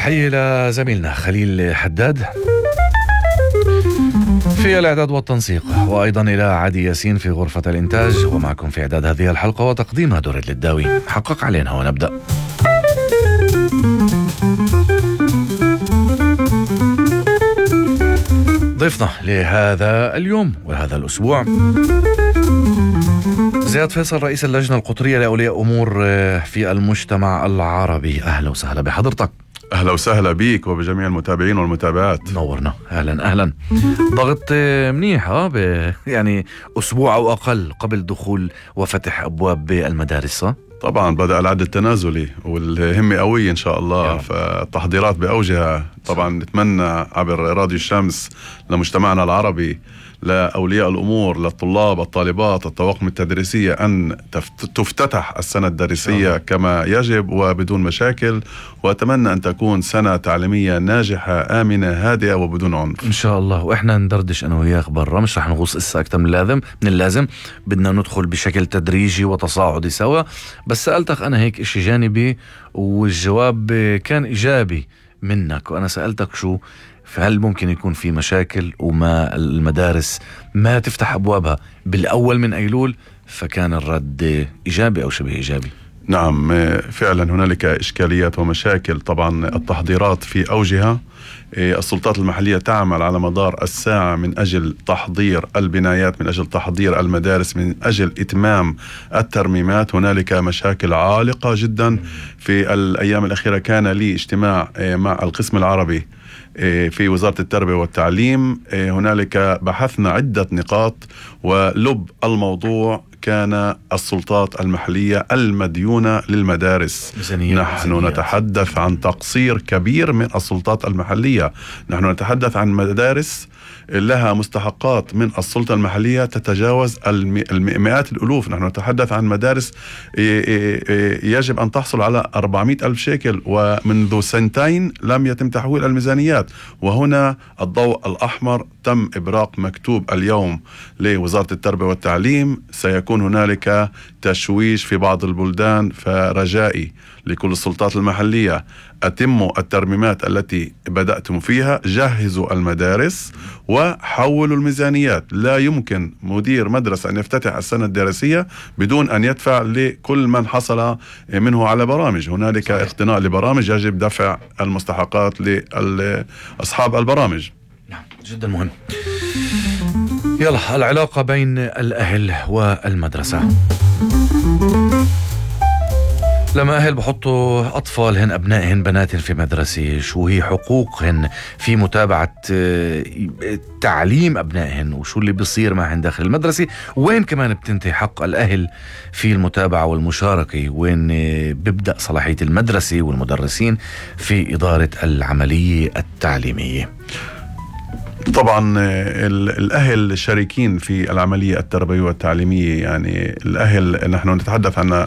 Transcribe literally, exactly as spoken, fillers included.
تحية لزميلنا خليل حداد في الإعداد والتنسيق، وأيضا إلى عادي ياسين في غرفة الإنتاج، ومعكم في إعداد هذه الحلقة وتقديمها دريد للداوي. حقق علينا ونبدأ. ضيفنا لهذا اليوم وهذا الأسبوع زياد فيصل، رئيس اللجنة القطرية لأولياء أمور في المجتمع العربي. أهلا وسهلا بحضرتك. أهلا وسهلا بيك وبجميع المتابعين والمتابعات. نورنا. أهلا أهلا. ضغط منيح ها ب... يعني أسبوع أو أقل قبل دخول وفتح أبواب المدارس. طبعا بدأ العد التنازلي والهمة قوية إن شاء الله، فالتحضيرات بأوجها. طبعا نتمنى عبر راديو الشمس لمجتمعنا العربي، لأولياء الأمور، للطلاب الطالبات، الطواقم التدريسية، أن تفتتح السنة الدراسية كما يجب وبدون مشاكل، وأتمنى أن تكون سنة تعليمية ناجحة آمنة هادئة وبدون عنف إن شاء الله. وإحنا ندردش أنا وياك برا، مش رح نغوص إسا أكتر من اللازم من اللازم بدنا ندخل بشكل تدريجي وتصاعدي سوا. بس سألتك أنا هيك إشي جانبي والجواب كان إيجابي منك، وأنا سألتك شو فهل ممكن يكون في مشاكل وما المدارس ما تفتح أبوابها بالأول من أيلول، فكان الرد إيجابي أو شبه إيجابي. نعم فعلا هنالك إشكاليات ومشاكل. طبعا التحضيرات في أوجها، السلطات المحلية تعمل على مدار الساعة من أجل تحضير البنايات، من أجل تحضير المدارس، من أجل إتمام الترميمات. هنالك مشاكل عالقة جدا. في الأيام الأخيرة كان لي اجتماع مع القسم العربي في وزارة التربية والتعليم. هنالك بحثنا عدة نقاط، ولب الموضوع كان السلطات المحلية المديونة للمدارس. ميزانية نحن ميزانية. نتحدث عن تقصير كبير من السلطات المحلية. نحن نتحدث عن مدارس لها مستحقات من السلطة المحلية تتجاوز المئات الألوف. نحن نتحدث عن مدارس يجب أن تحصل على أربعمائة ألف شيكل، ومنذ سنتين لم يتم تحويل الميزانيات. وهنا الضوء الأحمر تم إبراق مكتوب اليوم لوزارة التربية والتعليم. سيكون هنالك تشويش في بعض البلدان، فرجائي لكل السلطات المحلية أتموا الترميمات التي بدأتم فيها، جهزوا المدارس وحولوا الميزانيات. لا يمكن مدير مدرسة أن يفتتح السنة الدراسية بدون أن يدفع لكل من حصل منه على برامج. هنالك صحيح. اقتناء لبرامج، يجب دفع المستحقات لأصحاب البرامج. نعم جدا مهم. يلا، العلاقة بين الأهل والمدرسة. لما أهل بحطوا أطفالهن أبنائهن بناتهن في مدرسة، شو هي حقوقهن في متابعة تعليم أبنائهن، وشو اللي بيصير معهن داخل المدرسة، وين كمان بتنتهي حق الأهل في المتابعة والمشاركة، وين بيبدأ صلاحية المدرسة والمدرسين في إدارة العملية التعليمية. طبعا الأهل شريكين في العملية التربوية والتعليمية. يعني الأهل نحن نتحدث عن